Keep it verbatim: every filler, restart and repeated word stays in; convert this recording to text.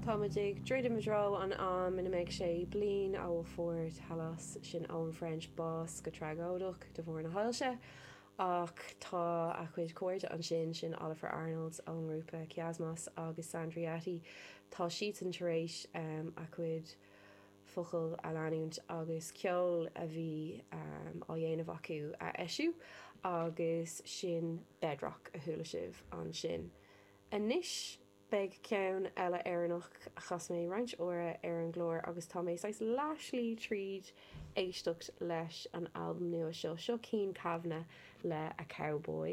Táimid ag druidim i dtreo an am ina mbeidh sé bliain ó fuair Talos sin Eoin French bás go tragóideach de bharr na hailse, ach tá a chuid cairde ansin sin Ólafur Arnalds ón ngrúpa Kiasmos agus Sandra Yetti tá siadsan tar éis um, a chuid focal a leanúint agus ceol a bhí um, á dhéanamh acu a eisiú agus sin Bedrock a chuala sibh ansin. Anois beidh ceann eile Éireannach a chas mé roinnt uaire ar an gclár agus tá mé saghas leathshlí tríd éisteacht leis an albam nua seo seo Cian Kavanagh le a Cowboy.